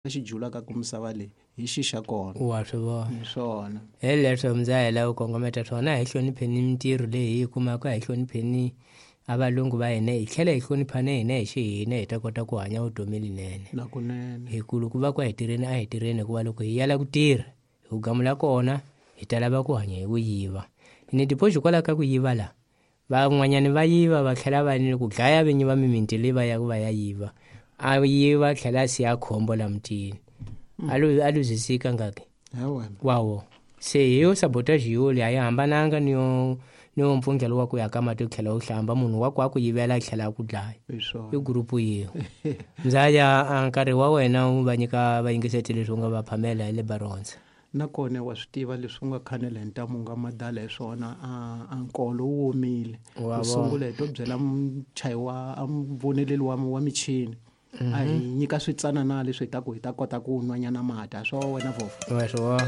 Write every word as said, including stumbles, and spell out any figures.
Xi julaka ku misava leyi hi xi xa kona. Wa swi vona. Hi swona. Hi leswo muzahela u kongometa swona, a hi hlonipheni mintirho leyi hi yi kumaka, a hi hlonipheni a valungu va hina, hi tlhela hi hloniphana hina hi xihina, hi ta kota ku hanya vutomi linene. Nakunene. Hi ku loko va ku a hi tirheni, a hi tirheni, hikuva loko hi yala ku tirha hi ku gamula kona hi ta lava ku hanya hi ku yiva. Ni tipoxi hikwalaho ka ku yiva la van'wanyani va yiva va tlhela va ni ku dlaya vinyi va mimiti leyi va yaka va ya yiva, a yiva tlhela a siya khombo la mutini. A lu-, a luzisika ngaki? Wawo. Se hi yo sabotage yo leyi a yi hambananga ni yo, ni yo mpfungelo wa ku ya ka mati u tlhela u hlamba, munhu wa ku a ku yivela a tlhela a ku dlaya. Hi swona. I gurupu yin'we. Mzaya, a nkarhi wa wena wu va nyika vayingiseti leswi u nga va phamela hi le Baronza. Nakona wa swi tiva leswi u nga khanela hi ntamu u nga madala hi swona, a, a nkolo wu omile. Wa U vona. sungula hi to byela muchayi wa, a muvoneleli wa, wa michini. Mhm. A hi nyika switsanana leswi hi ta ku hi ta kota ku nwanyana mati. A swa wena, Vhofo? Wa swi vona.